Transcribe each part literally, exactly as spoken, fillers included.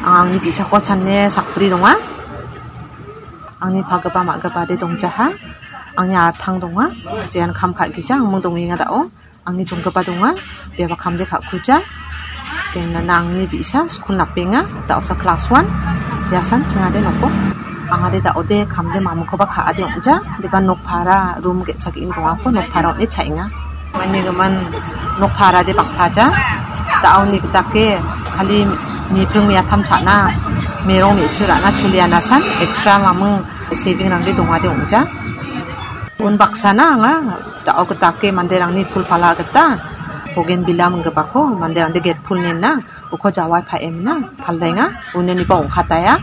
Angni bi·sako chane sakbri donga. Angni pagipa ma·gipade dongjaha. Angni artang donga. Jean kam ka·gija, angming dongenga da·o. Angni jonggipa donga, biaba kamde ka·kuja. Kenana angni bi·sa skul napenga, da·osa klas wan. Iasan chingade noko. Angade da·ode kamde mamingkoba ka·ade ong·ja. Deba nokpara rum ge·sa ge·gni dongako nokpara on·e cha·enga. Manigimin nokparade bang·paja. Da·oni gitake kali mipring miatam cha·na, merong me·su ra·na cholianasan extra maming sevingrangde dongade ong·ja. Unbaksana anga da·o gitake manderangni pul pala gita bogenvilla minggipako manderangde get pul nena uko jawai paemna paldaenga, uneniba ong·kataia.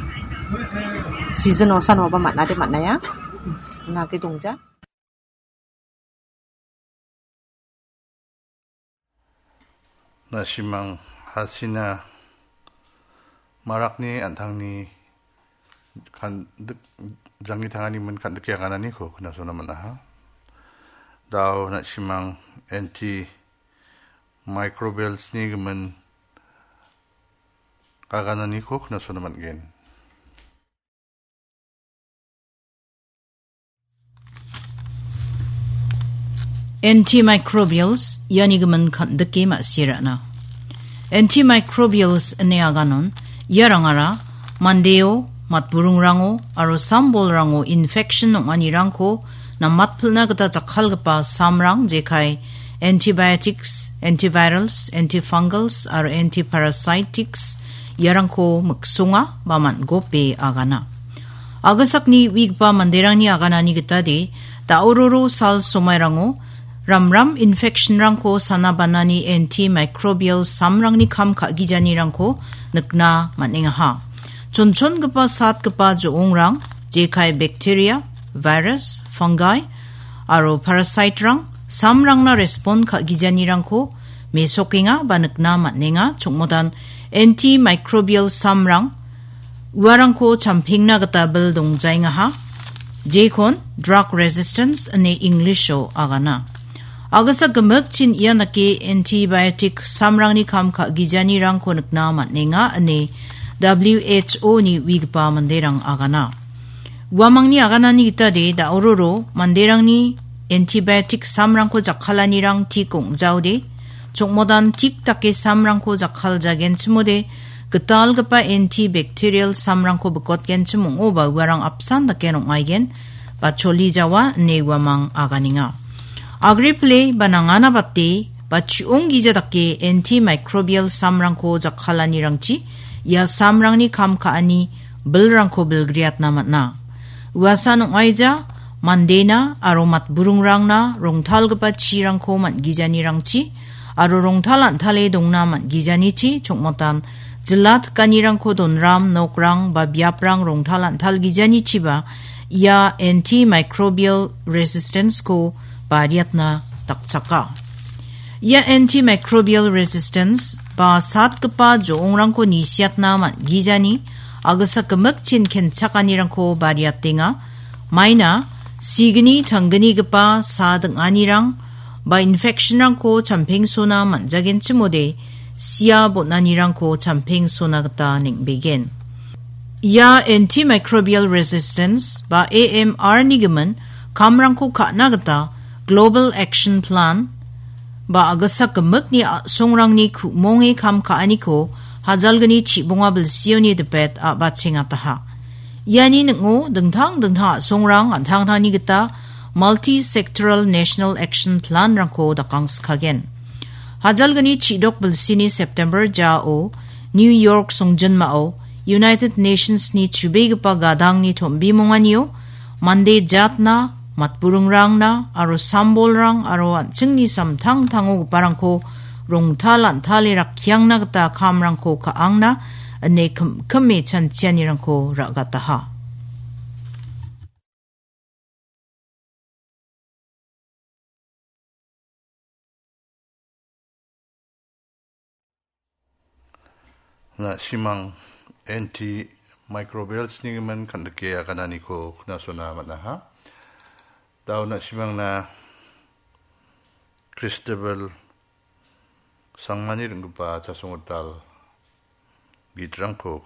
Season osan oba man·ade man·aia. Nage dongja. Na·simang Hasina Marakni an·tangni kan-, dik-, janggi tangani min kan·dike agananiko knasona man·aha. Da·o na·simang antimicrobials-ni gimin agananiko knasona man·gen. Antimicrobials, iani gimin kan·dike ma·sirana. Antimicrobials ine aganon, iarangara mandeo, matburingrango, aro sambolrango infection ong·anirangko namatpilna gita jakkalgipa samrang, jekai antibiotics, antivirals, antifungals, aro antiparasitics, iarangko miksonga ba man·gope agana. Agisakni uigipa manderangni aganani gitade, da·ororo sal somairango ramram infectionrangko sana banani antimicrobial samrangni kam ka·gijanirangko nikna man·engaha. Chonchongipa satgipa jo·ongrang, jekai bacteria, virus, fungi, aro parasiterang samrangna respond ka·gijanirangko mesokenga ba nikna man·enga. Chongmodan antimicrobial samrang uarangko champengna gita bil dongjaengaha, jekon drug resistance ine English-o agana. Agisa gimikchin ia dake antibiotic samrangni kam ka·gijanirangko nikna man·enga ine W H O-ni uigipa manderang agana. Uamangni aganani gitade da·ororo manderangni antibiotic samrangko jakkalanirang tik ong·jaode, chokmodan tik dake samrangko jakkaljagenchimode, gitalgipa antibacterial samrangko bikotgenchim ong·oba uarang apsan dake ong·aigen ba choli jawa ine uamang aganenga. Agre pile ba nangana bate ba chi·onggija dake antimicrobial samrangko jakkalanirangchi ia samrangni kam ka·ani bilrangko bilgriatna man·a. Uasan ong·aija mandena aro matburingrangna rongtalgipa chirangko man·gijanirangchi aro rongtal an·tale dongna man·gijanichi chongmotan jila tikanirangko donram nokrang ba biaprang rongtal an·talgijanichiba ia antimicrobial resistance-ko bariatna dakchaka. Ia antimicrobial resistance ba satgipa jo·ongrangko nisiatna man·gijani agisa gimikchin kenchakanirangko bariatenga. Maina signi tanggnigipa sa ding·anirang ba infectionrangko champengsona man·jagenchimode sia bon·anirangko champengsona gita neng·begen. Ia antimicrobial resistance ba A M R-ni gimin kamrangko ka·na gita Global Action Plan ba agisa gimikni a·songrangni ku·monge kam ka·aniko hajalgni chibonga bilsioni dipet a·bachengataha. Iani ning·o dingtang dingtang a·songrang an·tangtangni gita Multi-Sectoral National Action Plan-rangko dakangskagen. Hajalgni chidok bilsini September jao New York songjinmao United Nations-ni chubegipa gadangni tombimonganio mande jatna, matburingrangna aro sambolrang aro an·chingni samtangtangogiparangko rongtal an·tale rakkiangna gita kamrangko ka·angna ine kim-, kime chanchianirangko ra·gataha. Na·simang antimicrobials-ni gimin kan·dike agananiko knasona man·aha. Da·o na·simangna Christabel Sangmani ring·gipa chasonggital gitrangko